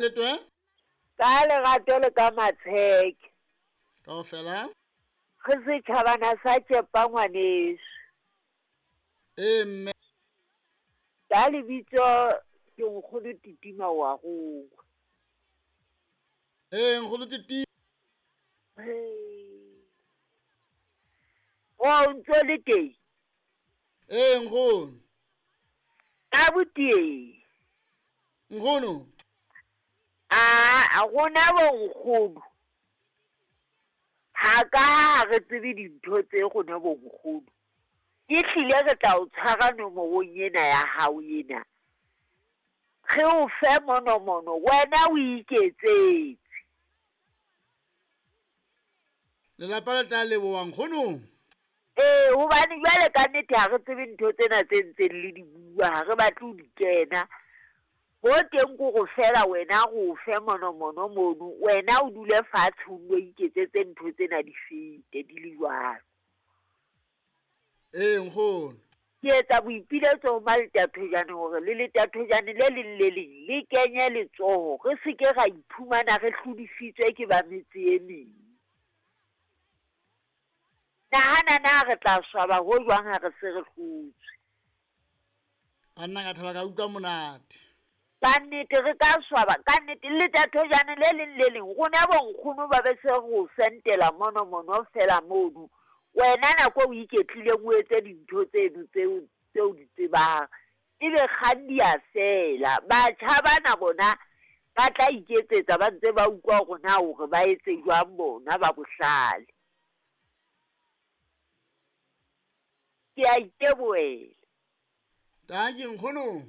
Letwe. Ka lerato le ka matsheke. Kaofela. Re setjhabana sa tšepa ngwaneso. Ee mme. Ka lebitso ke nkgono Titima wa rongwa. Ee nkgono Titima. O ntso le teng? Ee nkgono. Abuti ee. Nkgono. Aa rona bo nkgono. Ha ka ha re tsebe dintho tse rona bo nkgono. Ke hlile re tla o tshwara nomorong ena ya hao ena. Re o fe monomono wena o iketsetse. Lelapa le tla leboha nkgono. Ee, hobane jwale ka nnete ha re tsebe ntho tsena tse ntseng le di bua, ha re batle ho di kena. Ho teng ko go fela wena re o fe monomono mono, wena o dule fatshe o nno iketsetse ntho tsena di fete di le jwalo. Ee nkgono. Ke etsa boipiletso ho Maletathojane hore le letathojane le leng le leng le kenye letsoho, re se ke ra iphumana re hlodisitswe ke ba metse e meng. Nahana na re tla swaba ho jwang ha re se re hlotswe. Banna ka thaba ka utlwa monate. Ka nnete re ka swaba, ka nnete letathojane le leng le leng rona bonkgono ba be se re o sentela monomono fela mono. Wena nako o iketlileng o etse dintho tseno tseo tseo di tsebang. Ebe kgang di a fela. Batjha bana bona ba tla iketsetsa ba ntse ba utlwa hore na hore ba etse jwang bona ba bohlale. Ke a itebohela. Dankie nkgono.